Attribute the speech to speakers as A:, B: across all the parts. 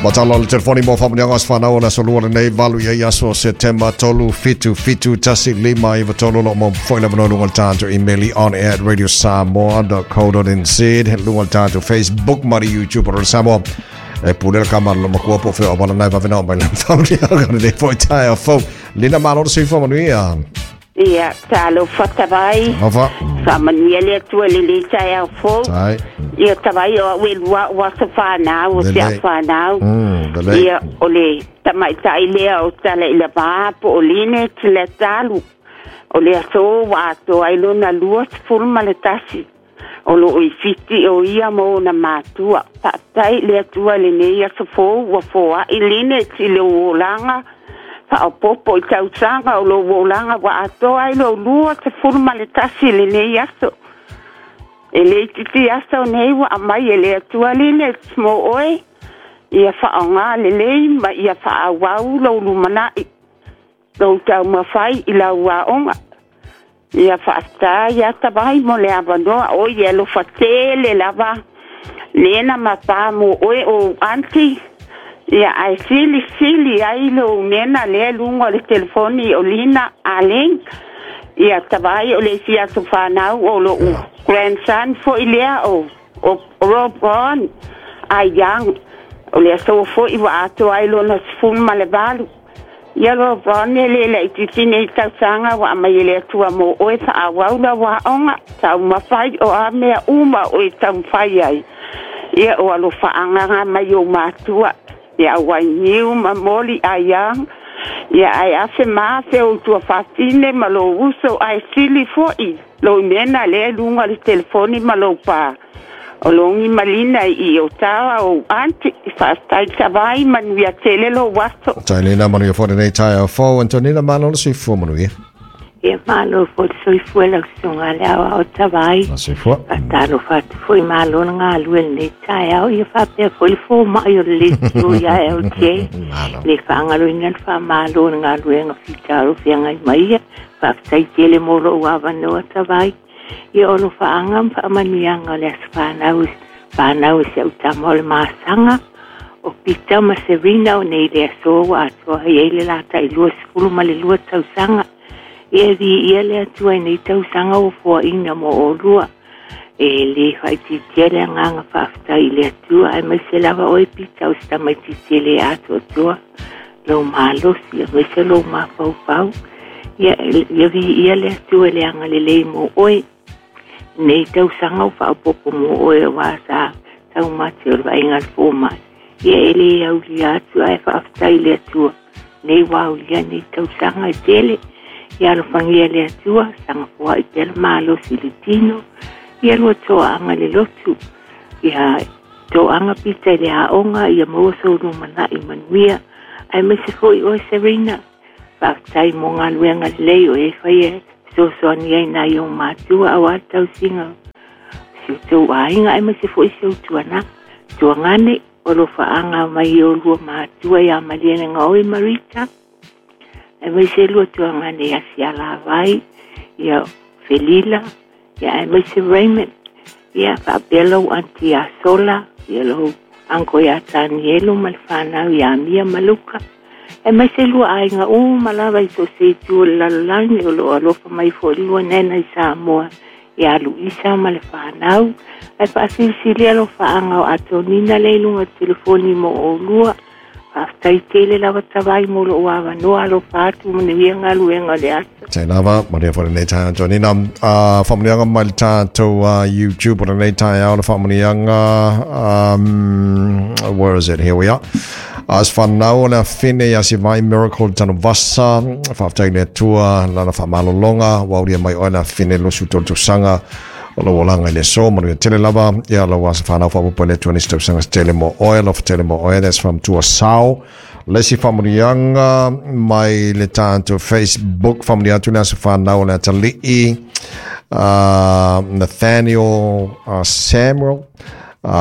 A: Matala o le telefoni mo whamunianga as whanau o le aso lua lenei valu ia i aso September 3 7 7 1 5 9 3 lo mo foi le vanoa lunga le tātou email i on air at radiosamoa.co.nz lunga le tātou Facebook ma le YouTube o Samoa e pule le kama lo makua po feo wala nai vavena o mai le whamunianga le foi tae a fau Lina malo le soifua manuia.
B: Ia, talofa tavai.
A: Alofa.
B: Faamanuia le Atua i lenei taeao fou.
A: Tai.
B: Ia tavai o au e lua o aso whanau, o te
A: Lelei.
B: whanau.
A: Lelei.
B: Ia, o le tamaitai lea o tala i le vā po o line te le talu. O le aso ua atoa ai lona 21. O loo i Fiti o ia ma ona matua. Faafetai i le Atua i lenei aso fou ua foai line i lou olaga faaopoopo i tausaga o lou olaga ua atoa ai lou 21 i lenei aso. E le itiiti aso nei ua aumai e le Atua line mo oe. Ia faaaoga lelei ma ia faaauau lou lumanai, lou taumafai i lau aoga. Ia faafetai ia tavai mo le avanoa o ia alofa tele lava lena ma pā mo oe o aunty. Ia ae silisili ai lou nena lea luga o le telefoni o Lina Aleng. Ia tavai o le isi aso whanau o lou grandson foi lea o Rob Ron ai Young. O le aso foi ua atoa ai lona 18. Ia Rob Ron e le laitiiti nei tausaga ua aumai e le Atua mo oe faaauau lau aoga taumafai o a mea uma o e taumafai ai. Ia o alofa agaga mai ou matua. Ia auainiu ma moli ai Young. Ia ai afe ma afe o tua whawhine ma lou uso ai sili foi. Lou nena lea lunga le telefoni ma lou pā. O longi malina i o tawa o aunty. Faafetai tavai manuia tele lou aso.
A: Tai Lina manuia foi lenei taeao fou. Antonina malo le soifua manuia.
C: Ia malo foi le soifua lau susuga le aoao tavai.
A: La soifua.
C: Faatalofa atu foi malo le galue lenei taeao. Ia faapea foi le fōma'i o le leitio ia LJ.
A: Malo.
C: Le faagaloina le faamalo le galuega fitalo feagai mai ia. Faafetai tele mo lou avanoa tavai. Ia o lo faaaga ma faamanuiaga o le aso fanau whanau se utama o le masaga o Peter ma Serena o nei le aso ua atoa ai ai le latai 20 ma le 2 tausaga. Ia vi ia le atua i nei tausaga ua foaina mo olua. E le whaititia le anganga faafetai i le atua ai mai se lava oe Peter o se tamaitiiti le atoatoa lou malosi aemaise lou mafaufau. Ia ia vi ia le atua le agalelei mo oe. Nei tausaga o faaopoopo mo oe auā sa taumate o le vaaiga le fōma'i. Ia e lē aulia atu ae faafetai i le Atua. Nei ua aulia nei tausaga e tele. Ia alofagia le Atua, sagafoa'i pea le malosi i le tino. Ia lua toaga le lotu. Ia toaga pita i le aoga, ia maua sou lumana'i manuia. Aemaise foi oe Serena. Faafetai mo galuega lelei o e faia fesoasoani ai nai ou matua auā le tausiga o si outou aiga aemaise foi si ou tuagane o lo faaaga mai o lua matua iā Malielegaoi Marita aemaise lua tuagane ia Sialavai ia Felila ia aemaise Raymond ia faapea lou aunty ia Sola ia lou uncle ia Tanielu ma le whanau ia Mia ma Luka. Aemaise lua aiga uma lava i so o se itu o le lalolagi o loo alofa mai foi lua nena i Samoa ia Luisa ma le whanau. Ae faasilisili alofaaga o Atonina le i luga o le telefoni mo olua. Faafetai tele lava tavai mo lou avanoa alofa atu manuia galuega o le aso.
A: Tai lava, manuia foi lenei taeao Antonina. Faamanuiaga mai le tatou YouTube o lenei taeao le faamanuiaga. Where is it? Here we are. As whanau o le afine ia si vai Miracle Tanuvasa, faafetai le Atua lana faamalologa, ua aulia mai oe le afine 23 tausaga o lou olaga i le aso, manuia tele lava, ia lau asa whanau whaapopo i le Atua nisi tausaga se tele mo oe, alofa tele mo oe, that's from Tua Sao. Le isi faamanuiaga mai le tatou Facebook, faamanuia atu le aso whanau o le atalii, Nathaniel Samuel,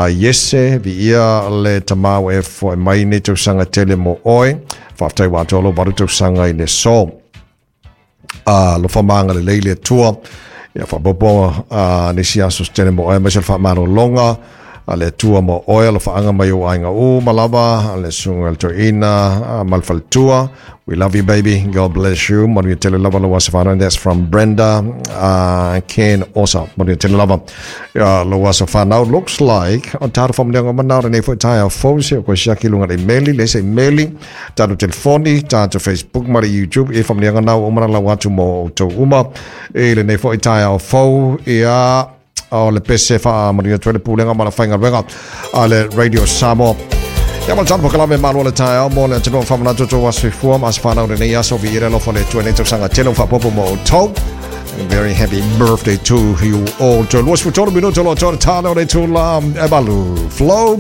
A: Iese, viia le tamau e foe mai nei tausaga tele mo oe, faafetai ua atoa lou valu tausaga i le aso. Alofa ma agalelei le Atua, ia faaopoopo nisi aso se tele mo oe, aemaise o le faamalologa, A le Atua mo oe alofaaga mai ou aiga uma lava, le susuga i le toeaina ma le faletua. We love you, baby. God bless you. Manuia tele lava lou aso fanau. That's from Brenda Ken Osa. Manuia tele lava lou aso fanau. Looks like o tātou whamuneanga mana o nei foi taia fou se o koe siaki lunga le meli, le se meli, tātou telefoni, tātou Facebook ma le YouTube, e whamuneanga nau o mana lau atu mo o tau uma. E le nei foi taia o fou, ia o le pese wha manuia tuele pulenga ma la whainga wenga a le Radio Samoa. Ia ma le tano pokalame malo le taeao mo le atunuu whamanatu tō aso ifua ma aso whanau lenei aso vi ira lofo le tua nei tausaga tele o whapopo mo o tau. Very happy birthday to you all. To luas futoro minuto lo tō tano le tūla e malu. Flow.